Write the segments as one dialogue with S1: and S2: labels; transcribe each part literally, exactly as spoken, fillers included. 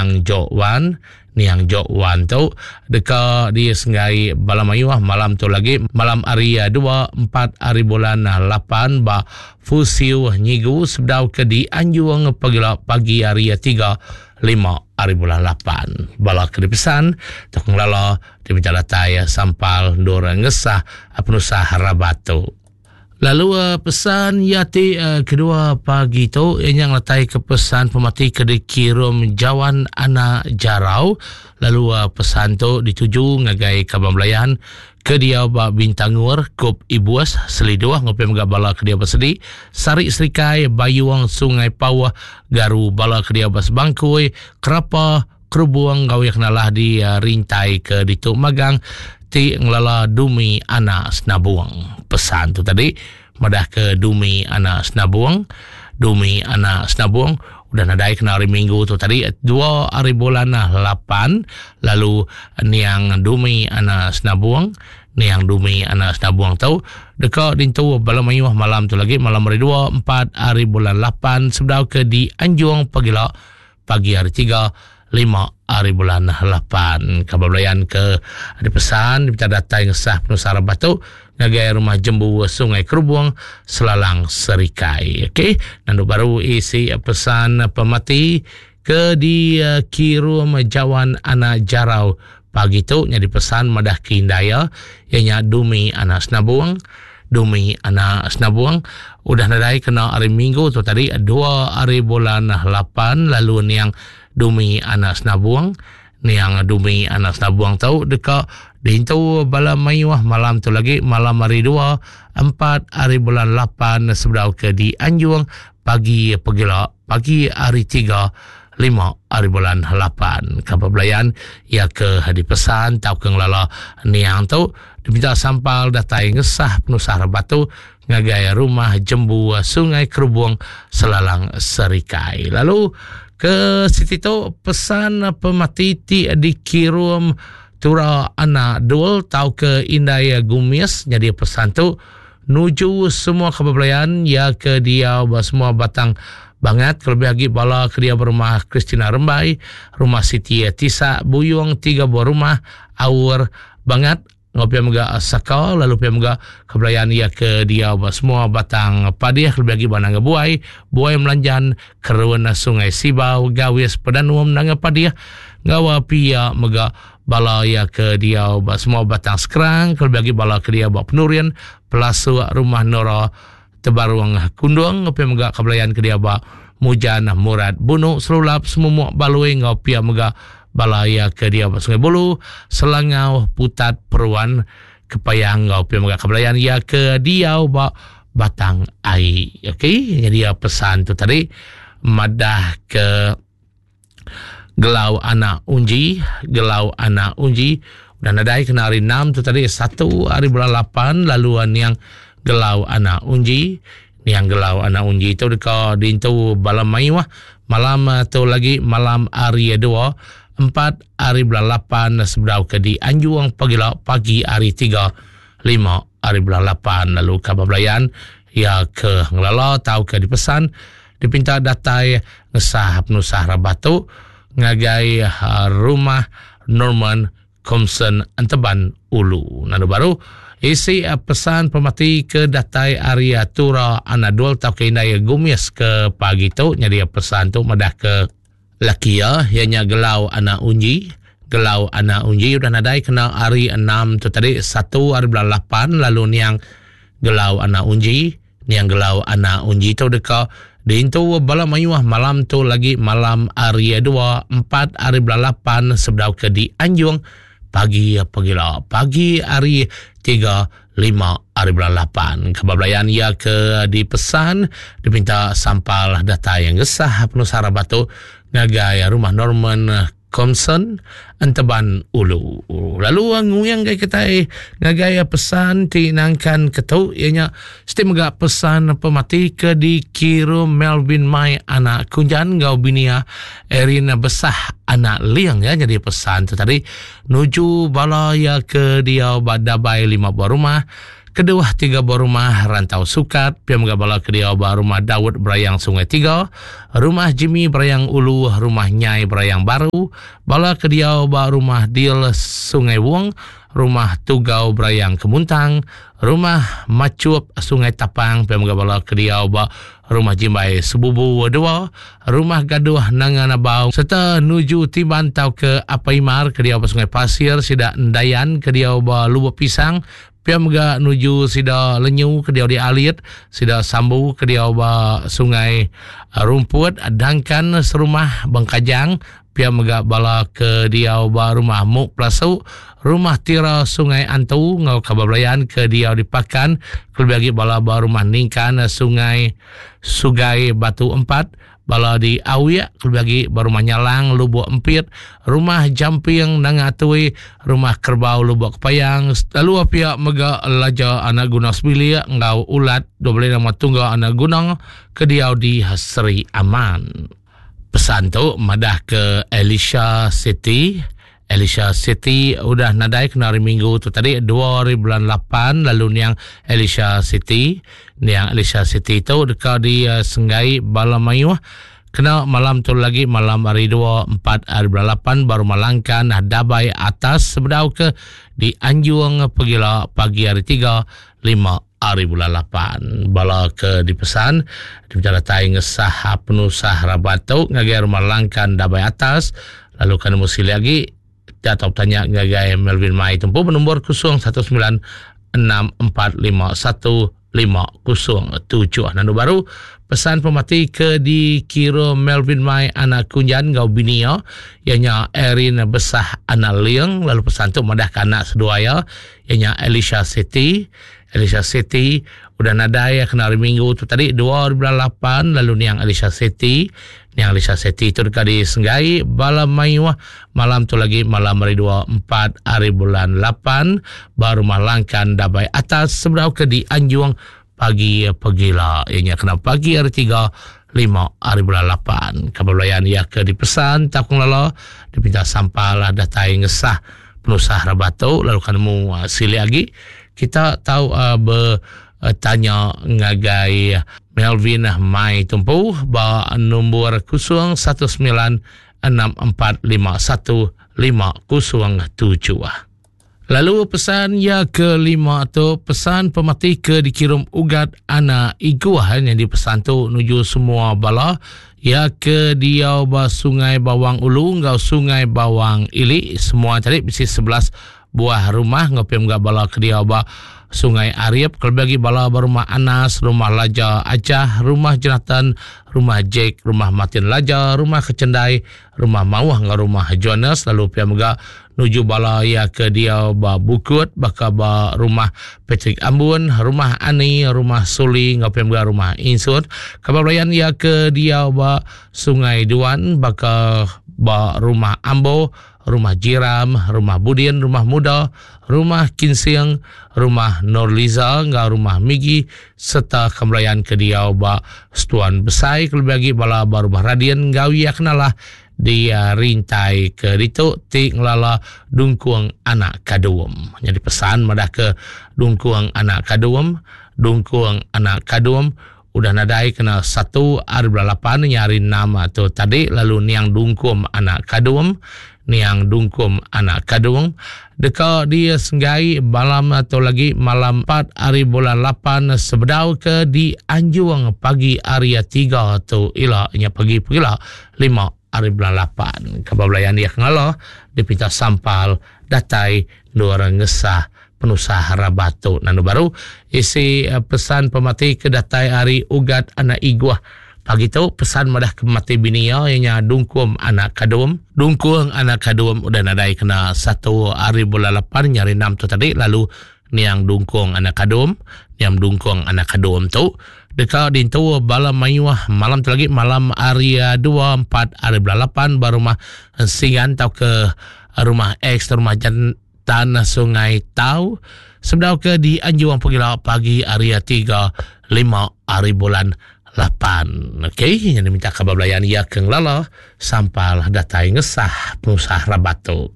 S1: niang Jok Wan. Niang Jok Wan tu deka disenggai bala mayuh malam tu lagi malam hari dua empat hari bulan lapan ba Fusiu Nyigu sebedau ke dianjung pagila pagi hari tiga lima hari bulan lapan. Bala ke dipesan tu ngelala diminta datai sampal endur ngesah penusah rabat tu. Lalu pesan ia ti kedua pagi tu ia ngeletai ke pesan pemati ke dikirim Jawan Anak Jarau. Lalu pesan tu dituju ngagai Kaban Belayan ke dia ba Bintangur, Kup Ibuas, Seliduh, ngopi mega bala ke dia bersedi, Sarik Serikai, Bayuang, Sungai Pawah, Garu, bala ke dia bersebangkui, Kerapa, Kerubuang, gawe kenalah di rintai ke ditu magang ti ngelala Dumi Anak Senabung. Pesan tu tadi madah ke Dumi Anak Senabung. Dumi Anak Senabung udah nadai kena hari Minggu tu tadi dua hari bulan lapan. Lalu niang Dumi Anak Senabung, niang Dumi Anak Senabung tu deka dintu bala mayuh malam tu lagi malam hari dua empat hari bulan lapan sebedau ke dianjung pagila pagi hari tiga lima hari bulan lapan. Kabar belayan ke ada pesan diminta datai ngesah penusah rebah tu ngagai rumah Jembu Sungai Kerubung Selalang Serikai. Okey, nandu baru isi pesan pemati ke dikirim Jawan Anak Jarau pagi tu nyadi pesan madah ke indaya ianya Dumi Anak Senabung. Dumi Anak Senabung udah nadai kena hari Minggu tu tadi dua hari bulan lapan. Lalu niang Dumi Anak Senabung, niang Dumi Anak Senabung tu deka diintu bala mayuh malam tu lagi malam hari dua empat hari bulan lapan sebedau ke dianjung pagi pegila pagi hari tiga lima hari bulan lapan. Kabar belayan ia ke dipesan tau ke ngelala niang tu diminta sampal datai ngesah penusah rebah tu ngagai rumah Jembu Sungai Kerubung Selalang Serikai. Lalu ke situ tu pesan pemati ti dikirim Tura Anak Dul tau ke Indai Gumis. Jadi pesan tu nuju semua kebelayan ya ke dia semua batang bangat kelebih lagi bala ke dia berumah Christina Rembai, rumah Siti Tisa Buyung, tiga buah rumah Aur Bangat, ngopi mega Saka, lalu pia mega kebelayan ia ke dia semua batang padih kelebih lagi banang buai, buai melanjan kerun Sungai Sibau, Gawis Pedanuam nanga padih, ngawa pia mega bala ia ke dia semua batang sekerang kelebih lagi bala ke dia buat penurian pelasu rumah Nora Tebaruang Kundung, ngopi mega kebelayan ke dia ba Mujan Murad Bunuk Selulap Semumuk Balui, ngopi mega bala ia ke dia ba Sungai Bulu Selangau Putat Peruan Kepayang, ngopi mega kebelayan ia ke dia ba Batang Ai. Okey, jadi pesan tu tadi madah ke Gelau Anak Unji, Gelau Anak Unji dan nadai kena hari enam tu tadi satu hari bulan lapan. Lalu niang Gelau Anak Unji, niang Gelau Anak Unji tu deka dintu bala mayuh malam tu lagi malam hari dua empat hari bulan lapan sebedau ke dianjung pagila pagi hari tiga lima hari bulan lapan. Lalu kabar belayan ya ke ngelala tau ke dipesan dipinta datai ngesah penusah rabah tu ngagai rumah Norman Komsen Enteban Ulu. Nanu baru isi pesan pemati ke datai Arya Tura Anadol tau ke Indai Gumis ke pagi tu. Jadi pesan tu madah ke laki ya ianya Gelau Anak Unji. Gelau Anak Unji udah nadai kena hari enam tu tadi satu hari bulan lapan. Lalu niang Gelau Anak Unji, niang Gelau Anak Unji tu deka diintu bala mayuh malam tu lagi malam hari dua empat hari bulan lapan sebedau ke dianjung pagi pagila pagi hari tiga lima hari bulan lapan. Kabar belayan ia ke dipesan diminta sampal data yang gesah penusah batu ngagai rumah Norman Komsen Enteban Ulu. Lalu nguyang gai kitai ngagai pesan ti nangkan ketu ianya seti mega pesan pemati ke dikirim Melvin Mai anak Kunjan ngau binia Erin Besah anak Liang ya. Jadi pesan tu tadi nuju bala ya ke dia badabai lima buah rumah Kedua tiga buah rumah Rantau Sukat, pia mega bala ke diau ba rumah Daud Berayang Sungai Tiga, rumah Jimmy Berayang Ulu, rumah Nyai Berayang Baru, bala ke diau ba rumah Dil Sungai Wong, rumah Tugau Berayang Kemuntang, rumah Macup Sungai Tapang, pia mega bala ke diau ba rumah Jimbai Sebubu dua, rumah Gaduh Nanga Nabau, serta nuju Tiban tau ke Apaimar ke diau ba Sungai Pasir, sida Endayan ke diau ba Lubuk Pisang, pia mega nuju sida Lenyu ke diau di Alit, sida Sambu ke diau ba Sungai Rumput, Dangkan serumah Bengkajang, pia mega bala ke diau ba rumah Muk Pelasu, rumah Tira Sungai Antu, ngau kabar belayan ke diau di Pakan, kelebih lagi bala ba rumah Ningkan Sungai Sugai Batu Empat, bala di Awiak, kelebih lagi ba rumah Nyalang Lubuk Empit, rumah Jamping Nanga Atui, rumah Kerbau Lubuk Kepayang, lalu pihak mega Laja Anak Guna Sebilik ngau Ulat dua belas nama tungga Anak Guna ke diau di Seri Aman. Pesan tu madah ke Elisha City. Elisha City udah nadai kena hari Minggu tu tadi dua hari bulan lapan, lalu niang Elisha City, niang Elisha City tu deka di uh, Senggai bala mayuh kena malam tu lagi malam hari dua empat hari bulan lapan baru malangkan dabai atas sebedau ke di Anjung pegila pagi hari tiga lima hari bulan lapan. Bala ke dipesan dipencaratai ngesah penusah rabat tu ngagai rumah langkan dabai atas, lalu kena mesti lagi atau tanya ngagai Melvin Mai tempuh bernombor kosong satu sembilan enam empat lima satu lima kosong tujuh. Nandu baru pesan pemati ke dikira Melvin Mai anak Kunjan ngau binia ianya Erin Besah anak Liang, lalu pesan tu madah ke anak seduaya ianya Elisha City. Elisha City udah nadai kena hari Minggu tu tadi dua ribu lapan, lalu niang Elisha City, niang Elisha City tu dekat di Senggai bala mayuh malam tu lagi malam hari dua empat hari bulan lapan baru malangkan dabai atas sebedau ke di Anjung pagi pegila ianya kena pagi hari tiga lima hari bulan lapan. Kabar belayan ia ke dipesan takung lala dipinta sampal datai ngesah penusah rabatu, lalu kan mu uh, sili lagi kita tahu uh, bertanya ngagai Melvin Mai Tumpu ba nombor kosong satu sembilan enam empat lima satu lima kosong tujuh. Lalu pesan ya kelima tu pesan pemati ke dikirim Ugat anak Iguah yang dipesan tu nuju semua bala ya ke diau ba Sungai Bawang Ulu ngau Sungai Bawang Ili, semua tadi bisi sebelas buah rumah ngopim gak bala ke diau ba Sungai Ariep, kelebih lagi bala ba rumah Anas, rumah Laja Acah, rumah Jonathan, rumah Jack, rumah Martin Laja, rumah Kecendai, rumah Mawah ngau rumah Jonas, lalu pia mega nuju bala ya ke dia ba Bukut, baka ba rumah Patrick Ambun, rumah Ani, rumah Suli, ngau pia mega rumah Insut. Kabar belayan ya ke dia ba Sungai Duan, baka ba rumah Ambo, rumah Jiram, rumah Budin, rumah Muda, rumah Kinsing, rumah Norliza, ngau rumah Migi, serta kembelayan ke dia ba Setuan Besai, kelebih lagi bala ba rumah Radin, ngau ia kenalah dia rintai ke ditu ti ngelala dungkuang anak kadum. Jadi pesan madah ke dungkuang anak kadum, dungkuang anak kadum udah nadai kena satu hari bulan lapan nyari enam atau tadi, lalu niang dungkum anak kadum, niang dungkum anak kadung deka dia senggai malam atau lagi malam empat hari bulan lapan sebedau ke di Anjung pagi hari tiga tu ila nya pagi pegila lima hari bulan lapan. Kabar belayan dia kengalah dipinta sampal datai dua orang ngesah penusah rabatu. Nanu baru isi pesan pemati ke datai hari Ugat anak Iguah. Pagi tu pesan madah ke mati binia ianya dungkum anak kadum. Dungkung anak kadum udah nadai kena satu hari bulan lapan nyari enam tu tadi, lalu niang dungkung anak kadum, niang dungkung anak kadum tu deka dintu bala mayuh malam tu lagi malam hari dua empat hari bulan lapan baru rumah Singan tau ke rumah X rumah Jantan Sungai Tau sebedau ke di Anjuang pegila pagi hari tiga lima hari bulan lapan. Okey, yang diminta kabar belayan ia ke ngelala sampal datai ngesah penusah rabatu.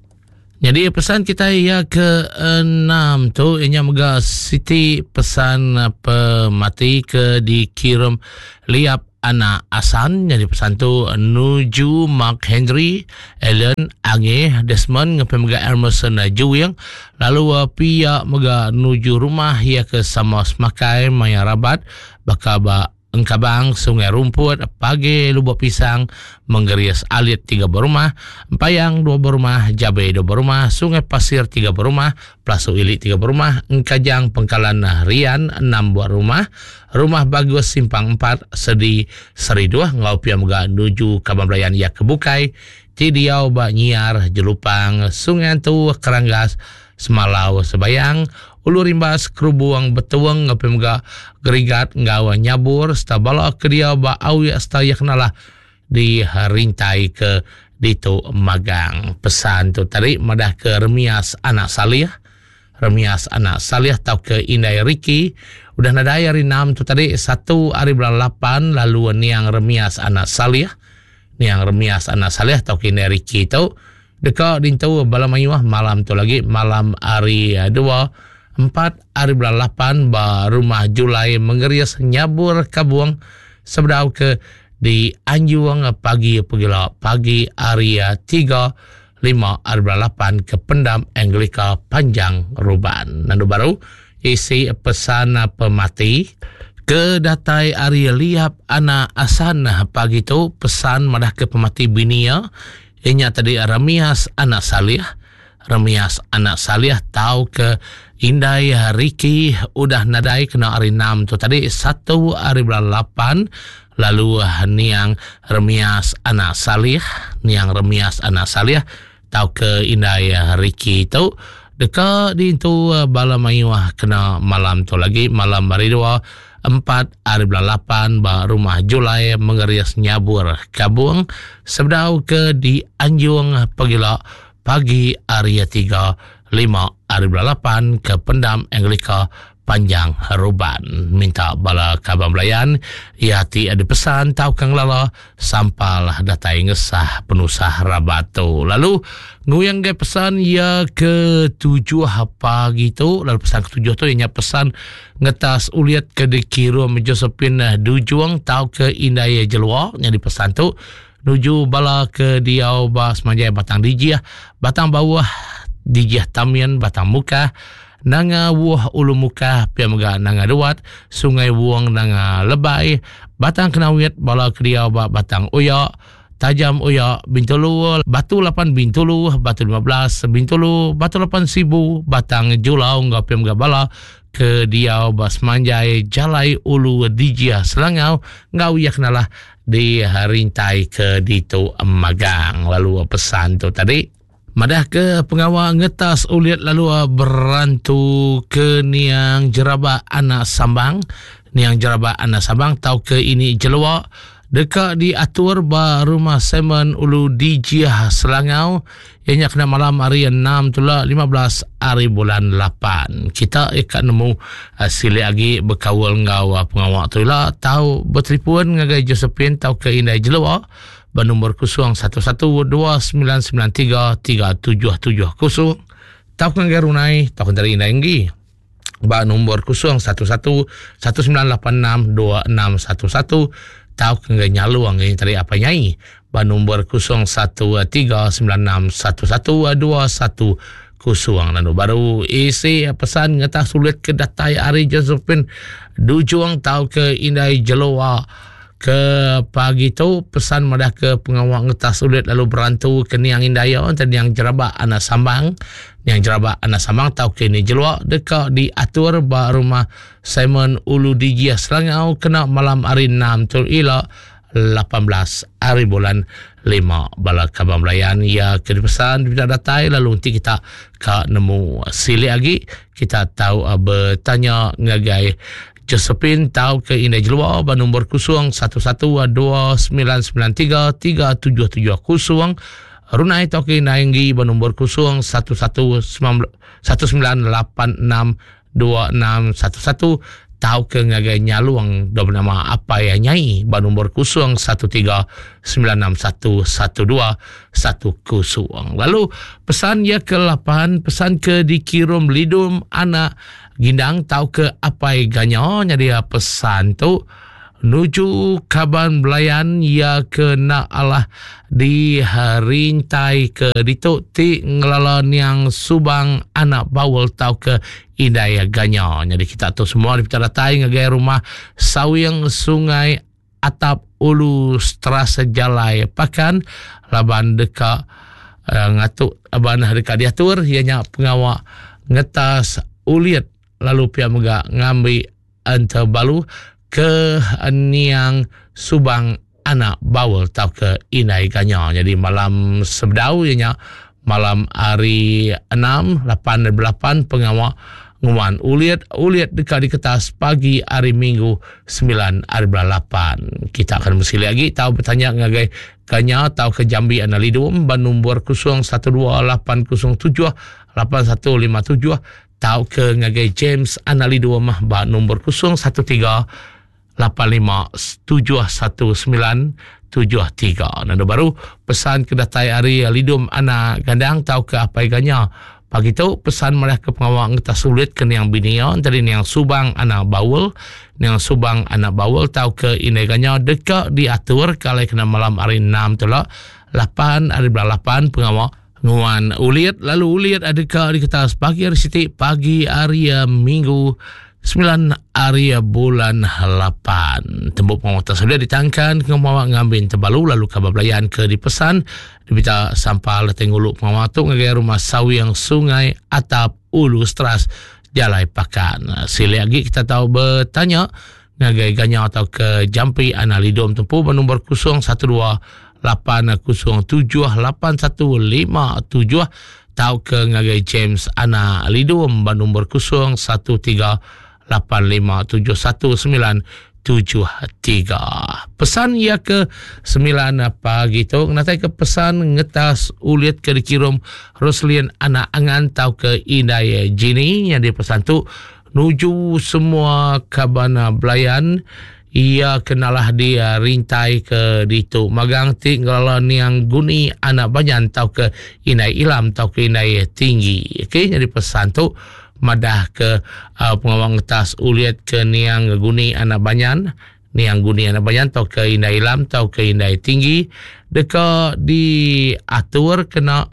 S1: Jadi pesan kita ya ke enam tu ianya mega siti pesan pemati ke dikirim Liap Anak Asan. Jadi pesan tu nuju Mark Henry, Allen, Ange, Desmond, ngepe mega Emerson Juwing, lalu pia mega nuju rumah ya ke sama semakai Maya Rabat, bakal ba Engkabang, Sungai Rumput, Pagi Lubuk Pisang, Menggerias Alit tiga berumah, Empayang dua berumah, Jabe dua berumah, Sungai Pasir tiga berumah, Pelasu Ilik tiga berumah, Engkajang Pengkalan Rian enam buah rumah, Rumah Bagus Simpang empat, Sedi Seri dua, Ngau Pia Mega nuju Kaban Belayan Ya Kebukai, Tidiau Ba Nyiar, Jelupang, Sungai Antu, Keranggas, Semalau Sebayang, Ulu Rimbas, Kerubuang, Betuang, Ngapi Mega, Gerigat, Ngau Nyabur, serta bala kedia ba awi serta ya kenalah di rintai ke ditu magang. Pesan tu tadi madah ke Remias Anak Salih, Remias Anak Salih tau ke Indai Riki, udah nadai hari enam tu tadi satu hari bulan lapan lalu niang Remias Anak Salih, niang Remias Anak Salih tau ke Indai Riki tu deka dintu bala mayuh malam tu lagi malam hari dua empat hari bulan lapan ba rumah Julai Menggerias Nyabur Kabung sebedau ke di Anjuang pagi pegila pagi hari tiga lima hari bulan lapan ke Pendam Anglika Panjang Ruban. Nandu baru isi pesan pemati ke datai hari Liap Anak Asan pagi tu pesan madah ke pemati binia inya tadi Ramias Anak Salih, Remias Anak Salih tau ke Indai Riki udah nadai kena hari enam tu tadi satu hari bulan lapan lalu niang Remias Anak Salih, niang Remias Anak Salih tau ke Indai Riki tu deka diintu bala mayuh kena malam tu lagi malam hari dua empat hari bulan lapan ba rumah Julai Menggerias Nyabur Kabung sebedau ke di Anjung pegila pagi hari tiga lima hari bulan lapan ke Pendam Anglika Panjang Ruban. Minta bala kaban belayan ia ti ada pesan tau kang lala sampalah datai ngesah penusah rabat tu. Lalu nguyang ge pesan ia ke tujuh pagi tu. Lalu pesan ketujuh tu ianya pesan ngetas uliat ke dikirim Josephine Dujuang tau ke Indai Jelua. Jadi pesan tu nuju bala ke diau ba semanjai Batang Dijih, Batang Bawah, Dijih Tamian, Batang Muka, Nanga Wuh Ulu Muka, Pia Mega Nanga Duat, Sungai Wuang Nanga Lebai, Batang Kenawit, bala ke diau ba Batang Oya, Tajam Oya, Bintulu, Batu lapan Bintulu, Batu lima belas Bintulu, Batu lapan Sibu, Batang Julau, ngau Pia Mega bala ke diau ba semanjai Jalai Ulu Dijih Selangau, ngau ia kenalah di rintai ke ditu magang. Lalu pesan tu tadi madah ke pengawal ngetas uliat lalu berantu ke niang Jeraba Anak Sambang, niang Jeraba Anak Sambang tau ke ini Jelua deka diatur ba rumah Simon Ulu Dijih Selangau ianya kena malam hari enam tula lima belas hari bulan lapan. Kita ikat nemu uh, silik lagi berkawal ngau uh, pengawal tu lah tau bertelefon ngagai Josephine tau ke Indai Jelua bernombor kosong satu satu dua sembilan sembilan tiga tiga tujuh tujuh kosong tau ke ngagai Runai tau ke dari Indai Enggi ba nombor kosong satu satu satu sembilan lapan enam dua enam satu satu tau ke ngagai Nyaluang ini tadi apa nyai ba nombor kosong satu tiga sembilan enam satu satu dua satu kosong. Lalu baru isi pesan ngetah sulit ke datai hari Josephine Dujuang tau ke Indai Jelua ke pagi tu pesan madah ke pengawal ngetah sulit lalu berantu ke niang Indaya dan niang Jeraba Anak Sambang, niang Jeraba Anak Sambang tau ke ni Jelua deka diatur ba rumah Simon Ulu Dijih Selangau kena malam hari enam tu ila lapan belas hari bulan lima. Bala kaban belayan ia ke dipesan tidak datai lalu nanti kita ka nemu silik lagi kita tahu uh, bertanya ngagai Josephine tau ke Indai Jelua ba nombor kosong satu satu dua sembilan sembilan tiga tiga tujuh tujuh kosong. Runai tau ke Indai Enggi ba nombor kosong satu satu satu sembilan lapan enam dua enam satu satu tau ke ngagai nyalung do bernama Apai Nyai ba nombor kosong satu tiga sembilan enam satu satu dua satu kosong. Lalu pesan ia ke lapan, pesan ke dikirim Lidum anak Gindang tau ke Apai Ganya. Jadi pesan tu nuju kaban belayan ia ke nak Allah di rintai ke ditu ti ngelala niang Subang anak Bawul tau ke Indai Ganya. Jadi kita tu semua dipita datai ngagai rumah Sawing Sungai Atap Ulu Strasa Jalai Pakan laban deka uh, ngatuk aban deka diatur ianya pengawak ngetas ulit lalu pia mega ngambi entebalu ke niang Subang anak Bawul tau ke Indai Ganya. Jadi malam sebedau ianya malam hari enam lapan lapan pengawak nguan ulit ulit dekat di kertas pagi hari Minggu sembilan hari bulan lapan. Kita akan mesti lagi tahu bertanya ngagai Ganya tau ke Jambi Analidum ban nombor kosong satu dua lapan kosong tujuh lapan satu lima tujuh tau ke ngagai James Analidum ban nombor kosong satu tiga lapan lima tujuh satu sembilan tujuh tiga. Nanda baru pesan ke datai hari Lidum anak Gandang tau ke Apai Ganya. Pagi tu pesan malah ke pengawak ngetas sulit ke niang binia tadi niang Subang anak Bawul, niang Subang anak Bawul tau ke Indai Ganya dekat diatur kalau kena malam hari enam tu lah lapan hari bulan lapan pengawak nguan ulit lalu ulit ada ke di kertas pagi hari Siti pagi hari Minggu sembilan hari bulan lapan. Tembok pengawak sudah ditangkan ke pengawak ngambil terbalu lalu kabar belayan ke dipesan dibita sampal tengguluk pengawak tu ngagai rumah Sawiang Sungai Atap Ulu Stras Jalai Pakan. Sila lagi kita tahu bertanya ngagai Ganya atau ke Jampi Analidom tempuh bernombor kosong satu dua lapan kosong tujuh lapan satu lima tujuh tau ke ngagai James Ana Lidum bernombor kosong satu tiga lapan lima tujuh satu sembilan tujuh tiga. Pesan ia ke sembilan pagi tu natai ke pesan ngetas ulit ke dikirim Roslin anak Angan tau ke Indai Jini. Yang dipesan tu nuju semua kabana belayan ia kenalah dia rintai ke ditu magang ti ngelala niang Guni anak Banyan tau ke Indai Ilam tau ke Indai Tinggi. Okey, jadi pesan tu madah ke uh, pengawang ngetas uliat ke niang Guni anak Banyan, niang Guni anak Banyan tau ke Indai Ilam tau ke Indai Tinggi deka diatur kena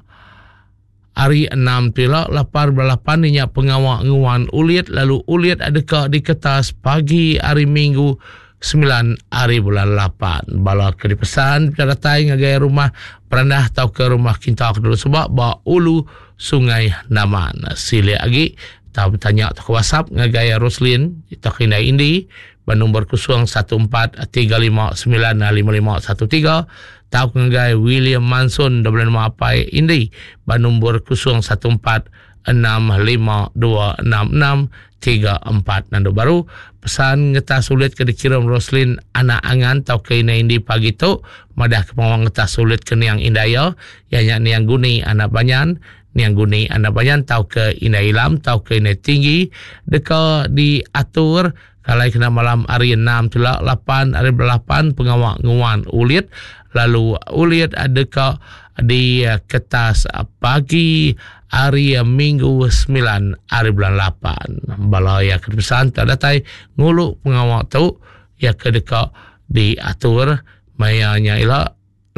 S1: hari enam pila lapar belapan ninya pengawak nguan uliat lalu uliat adeka di kertas pagi hari Minggu sembilan hari bulan lapan. Bala ke dipesan datai ngagai rumah perendah tau ke rumah kinta ke dulu sebab ba Ulu Sungai Naman. Sila lagi tau bertanya atau ke WhatsApp ngagai Roslin atau ke Indai Indi ba nombor kosong satu empat tiga lima sembilan lima lima satu tiga tau ke ngagai William Manson double nama Apai Indi ba nombor kosong satu empat enam lima dua enam enam tiga empat. Nando baru pesan ngetas sulit ke dikirim Roslin anak Angan tau ke Indai Indi pagi tu madah ke pengawang ngetas sulit ke niang Indaya ianya niang Guni anak Banyan, niang Guni anak Banyan tau ke Indai Ilam tau ke Indai Tinggi deka diatur kalau kena malam hari enam tu lah lapan hari lapan pengawak nguan ulit lalu ulit deka di kertas pagi hari Minggu sembilan hari bulan lapan. Bala ya kepesan tak datai nguluk pengawak tu ya ke deka diatur mayanya ila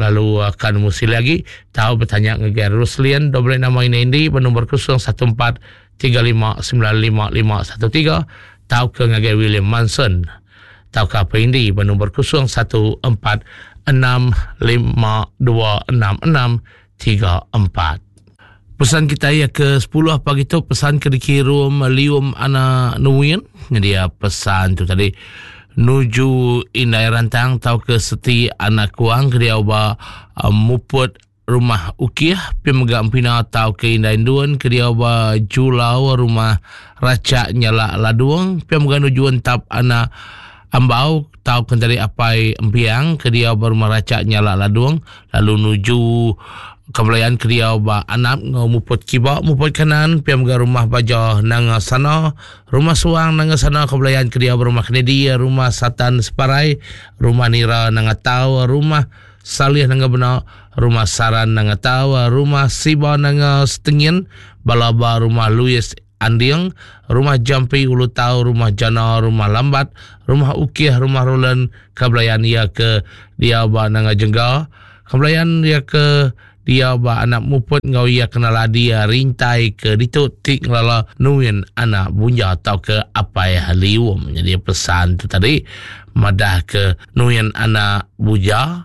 S1: lalu akan musi lagi tahu bertanya ngagai Ruslian double nama ini Indi bernombor kosong satu empat tiga lima sembilan lima lima satu tiga tahu ke ngagai William Manson tahu ke apa Indi bernombor kosong satu empat enam lima dua enam enam tiga empat. Pesan kita ya ke sepuluh pagi tu pesan ke dikirim Lium anak Nuin. Jadi ya pesan tu tadi nuju Indai Rantang tau ke Seti anak Kuang ke dia ba uh, muput rumah Ukih pi mega empina tau ke Indai Duan ke dia ba Julau rumah Racak Nyala Laduang pi mega nuju entap anak Ambau tau ke dari Apai Empiang ke dia ba rumah Racak Nyala Laduang lalu nuju Kebelayan kediau ba anak ngau muput kiba muput kanan piam ga rumah baja nanga sana rumah suang nanga sana kebelayan kediau rumah Kennedy rumah Satan Separai rumah Nira nanga Tau rumah Salih nanga Bena rumah Saran nanga Tau rumah Siba nanga Setengin balaba rumah Louis Anding rumah Jampi Ulu Tau rumah Jana rumah Lambat rumah Ukih rumah Roland kebelayan ia ke dia ba nanga Jengga kebelayan ia ke dia ba anak muput ngau ia kenal adi rintai ke ditu tik ngelala nuin anak bunja atau ke apai lium. Jadi pesan tu tadi madah ke nuin anak buja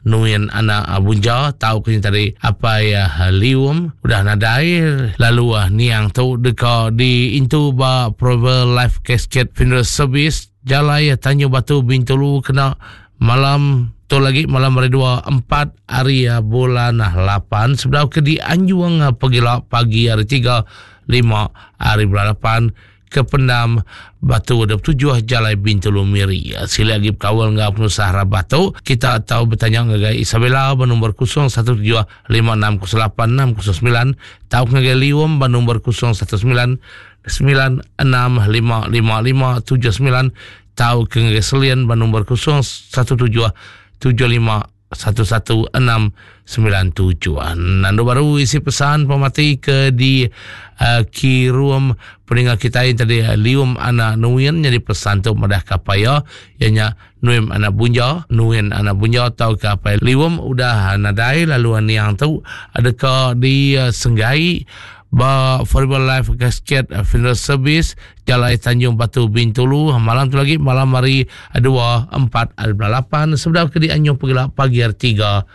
S1: nuin anak bunja tau ke tadi apai lium udah nadai lalu niang tu deka di intu ba Prover Life Casket Funeral Service Jalai Tanjung Batu Bintulu kena malam tu lagi malam hari dua empat hari bulan lapan sebelum ke di Anjuang pegila pagi hari tiga lima hari bulan lapan ke Pendam Batu dua puluh tujuh Jalai Bintulu Miri. Sila lagi berkawal dengan pengusaha rabah tu kita tahu bertanya dengan Isabella bernombor kosong satu tujuh lima enam kosong lapan enam kosong sembilan tahu dengan Lium bernombor kosong satu sembilan sembilan enam lima lima lima tujuh sembilan tahu ke Selian bernombor kosong satu tujuh tujuh lima satu satu enam sembilan tujuh. Nandu baru isi pesan pemati ke di uh, kirum peninggal kita yang tadi uh, lium anak nuin jadi pesan tu madah kapaya ianya nuim anak bunja nuin anak bunja atau kapai lium udah nadai lalu niang tu adakah di uh, Senggai ba Forever Life Casket Funeral Service Jalai Tanjung Batu Bintulu malam tu lagi malam hari dua empat hari bulan lapan sebelum ke di Anjung Pegila pagi hari tiga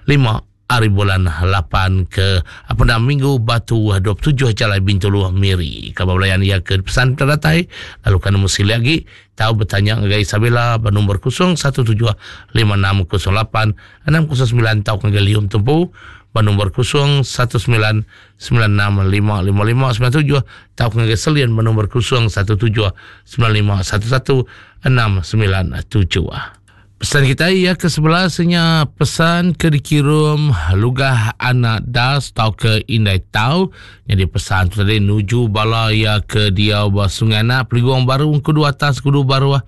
S1: lima hari bulan lapan ke apa nama Minggu Batu dua puluh tujuh Jalai Bintulu Miri. Khabar belayan ia ke pesan terdatai lalu kan mesti lagi tahu bertanya dengan Isabella bernombor kosong satu tujuh lima enam kosong lapan enam kosong sembilan tahu ke Lium Tumpu bernombor kosong satu sembilan sembilan enam lima lima lima sembilan tujuh tahu ke Selian bernombor kosong satu tujuh sembilan lima satu satu enam sembilan tujuh. Pesan kita ia ke sebelasnya pesan ke dikirim lugah anak das tau ke indai tau. Jadi pesan tu tadi nuju bala ia ke dia ba Sungai Anak Peliguang Baru kudu atas kudu baru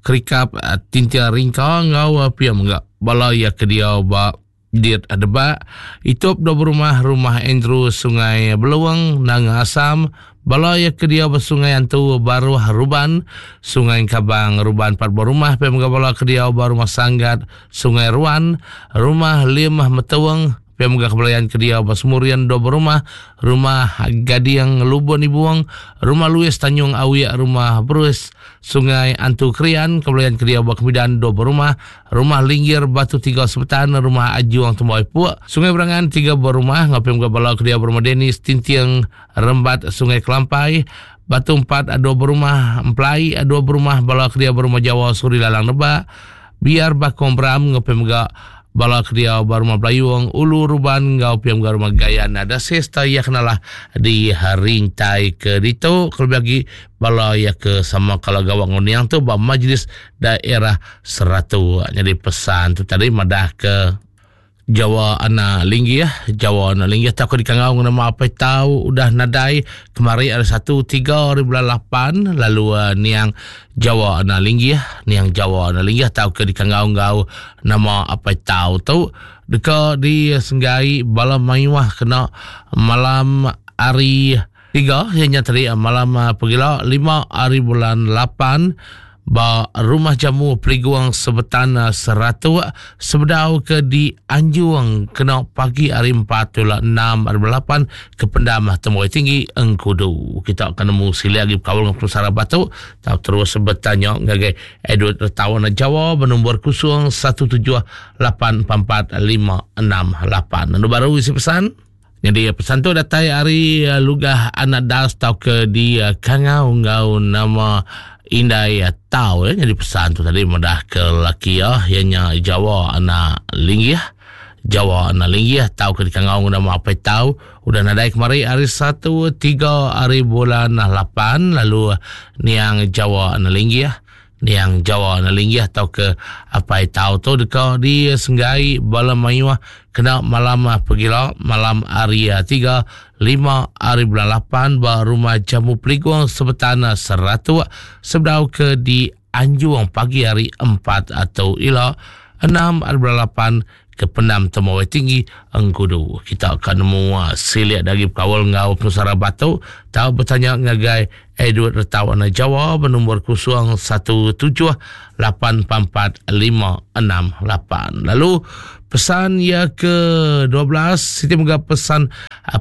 S1: kerikap tintia ringka ngau pia menggak bala ia ke dia ba diet adeba itup do rumah rumah Andrew Sungai Beluang Nanga Asam bala ya ke dia bersungai Antu Baru Ruban Sungai Kabang Ruban empat buah rumah pe bala ke dia baru rumah Sanggat Sungai Ruan rumah Limah Metuang pe megah kebelayan ke dia Basmurian dua rumah rumah Gadiang Lubon Ibuang rumah Louis Tanjung Awiak rumah Bruce Sungai Antu Krian kebelayan ke dia Bakmidan dua rumah rumah Linggir Batu Tiga Sebetan rumah Ajuang Temboi Puak Sungai Berangan tiga buah rumah ngapem bala ke dia rumah Denis Tintiang Rembat Sungai Kelampai Batu Empat dua rumah Emplai dua rumah bala ke dia rumah Jawa Suri Lalang Nebak biar Bakong Bram ngapem bala kedia baru Melayuang Ulu Ruban ngau piam garu Magayan ada sesta ya kenalah di rintai ke dito kalau bagi bala ya ke sama kalau gawang ngoniang tu ba majlis daerah Seratu. Jadi pesan tu tadi madah ke Jawa anak linggi ya Jawa anak linggi tak aku dikangau nama apa tahu udah nadai kemari ada satu tiga hari bulan lapan lalu uh, niang Jawa anak linggi ya niang Jawa anak linggi tahu ke dikangau ngau nama apa tahu tu deka di Senggai bala mayuah kena malam hari tiga yang tadi malam uh, pegila lima hari bulan lapan ba rumah jamu Peliguang Sebetan Seratu sebedau ke di Anjuang kena pagi hari empat tulah enam hari lapan ke Pendam Temuai Tinggi Engkudu. Kita akan nemu sila lagi berkawal dengan penusara batu tahu terus bertanya ngagai Edward Retawan Jawa bernombor kosong satu tujuh lapan empat empat lima enam lapan. Lalu baru isi pesan. Jadi pesan tu datang hari lugah anak das tau ke di Kangau ngau nama Indai Tau ya. Jadi pesan tu tadi madah ke laki ya ianya Jawa anak linggih Jawa anak linggih tau ke dikangau nama apa tau udah nadai kemari hari satu tiga hari bulan lapan lalu niang Jawa anak linggih Niang Jawa Nalinggih atau ke Apai Tau tu deka disenggai bala mayuh kena malam pegila malam hari tiga lima hari bulan lapan ba rumah Jamu Peligung Sebetan Seratuk sebedau ke di Anjung pagi hari empat atau ila enam hari bulan lapan ke Pendam Temawai Tinggi Engkudu. Kita akan nemu silik dari kawal ngau penusara batu tau bertanya ngagai Edward Retau Anak Jawa bernombor kosong satu tujuh lapan empat lima enam lapan. Lalu pesan ya ke dua belas Siti mega pesan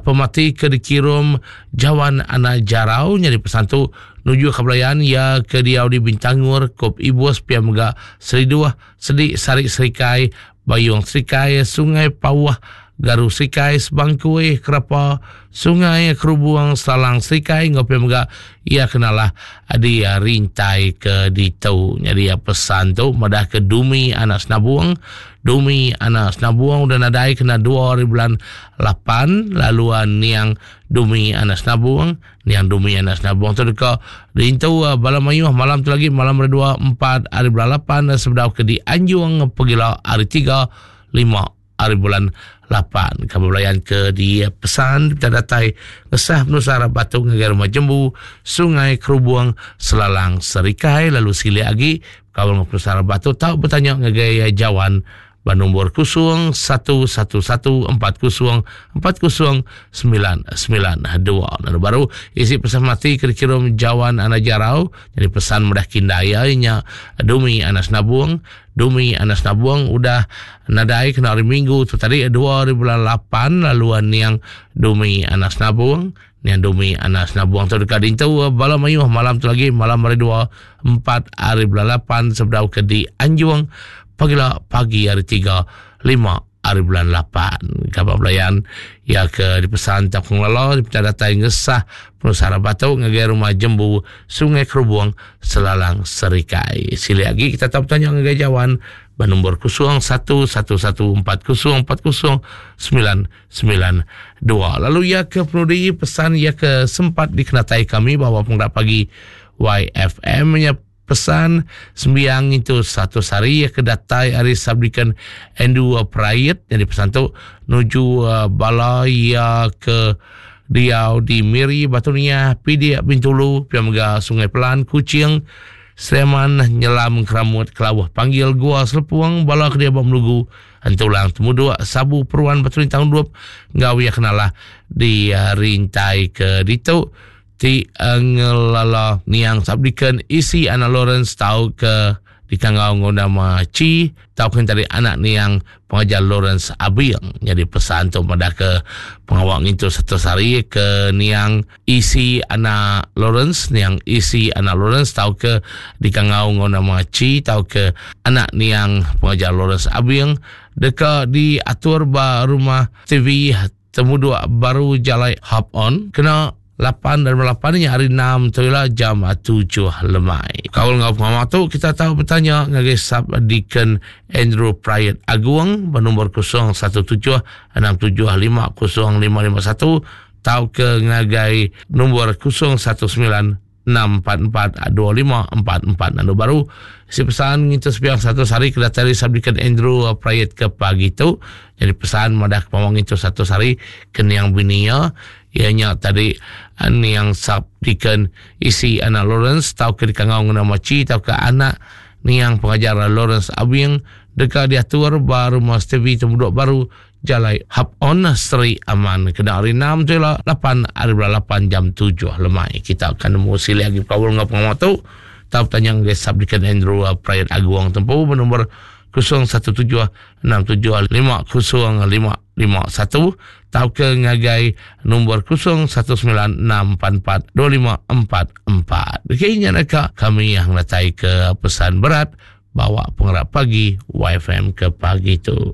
S1: pemati ke dikirim Jawan Anak Jarau jadi pesan tu nuju kebelayan ya ke diau di Bintangur Kop Ibus pia mega Seriduh Sedik Sarik Serikai Bayung Serikai Sungai Pauh Garu Serikai Sebangkui Kerapa Sungai Kerubuang Salang Serikai ngopi mega ia kenalah di rintai ke ditu. Jadi pesan tu madah ke Dumi Anak Senabung. Dumi Anak Senabung udah nadai kena dua hari bulan lapan lalu niang Dumi Anak Senabung. Niang Dumi Anak Senabung tu deka rintu bala mayuh malam tu lagi malam hari dua empat hari bulan lapan sebedau ke di Anjung pegila hari tiga lima hari bulan lapan. Kamu belayan ke di pesan kita datai ngesah penusara batu ngagai rumah jembu Sungai Kerubuang Selalang Serikai lalu silik lagi kawan penusara batu tau bertanya ngagai Jawan bernombor kosong satu satu satu empat kosong empat kosong sembilan sembilan dua. Lalu baru isi pesan mati ke dikirim Jawan Anak Jarau jadi pesan mudah kindaya nya Dumi Anak Senabung. Dumi Anak Senabung udah nadai kena hari Minggu tu tadi dua hari bulan lapan lalu niang Dumi Anak Senabung. Niang Dumi Anak Senabung tu dekat dintu bala mayuh malam tu lagi malam hari dua empat hari bulan lapan sebedau ke di Anjung pagila pagi hari tiga lima hari bulan lapan. Kabar belayan ya ke dipesan tak pengelola di datai ngesah penusara batu ngagai rumah jembu Sungai Kerubuang Selalang Serikai. Sili lagi kita tahu bertanya ngagai Jawan bernombor kosong satu satu satu empat kosong empat kosong sembilan sembilan dua. Lalu ya ke penudi pesan ya ke sempat dikenatai kami bahawa penggerak pagi Y F M nya pesan sembiang itu satu sari ya ke datai hari sabdikan Endu Prayit jadi pesan tu nuju uh, bala ya ke diau di Miri Batu Niah Pidik Bintulu pia mega Sungai Pelan Kuching Sleman Nyelam Keramut Kelawah Panggil Gua Selepuang bala ke dia Melugu Entulang Temuduk Sabu Peruan Batu Lintang Dup ngau ya kenalah di uh, rintai ke ditu ti ngelala niang sabdikan isi anak Lawrence tau ke dikangau ngau nama Ci tau ke tadi anak niang pengajar Lawrence Abiang. Jadi pesan tu pada ke pengawak ngintu satu hari ke niang isi anak Lawrence niang isi anak Lawrence tau ke dikangau ngau nama Ci tau ke anak niang pengajar Lawrence Abiang deka diatur ba rumah T V Temuduk baru jalai hop on kena lapan dan lapan ni hari enam tu lah jam tujuh lemai. Kaul ngau pengamat tu kita tahu bertanya ngagai Sub Deacon Andrew Prayet Agung bernombor kosong satu tujuh enam tujuh lima kosong lima lima satu tau ke ngagai nombor kosong satu sembilan enam empat empat dua lima empat empat. Lalu baru si pesan kita sepiang satu hari ke datari Sub Deacon Andrew Prayet ke pagi tu. Jadi pesan madah pamang itu satu hari ke niang binia ianya tadi niang Sub Deacon isi anak Lawrence tau ke dikangau ngena maci tau ke anak niang pengajar Lawrence Abing dekat diatur baru Mas T V Temuduk baru Jalai Hap On Seri Aman kena hari enam tu lah lapan hari bulan lapan jam tujuh lemai. Kita akan nemu sili lagi kawal ngau pengamat tu tau tanya dengan Sub Deacon Andrew Prayet Aguang tempuh bernombor kosong satu tujuh enam tujuh lima kosong lima lima satu tau ke ngagai nombor kosong satu sembilan enam empat empat dua lima empat empat. Okey, nya nak kami yang datai ke pesan berat bawa penggerak pagi Y F M ke pagi tu.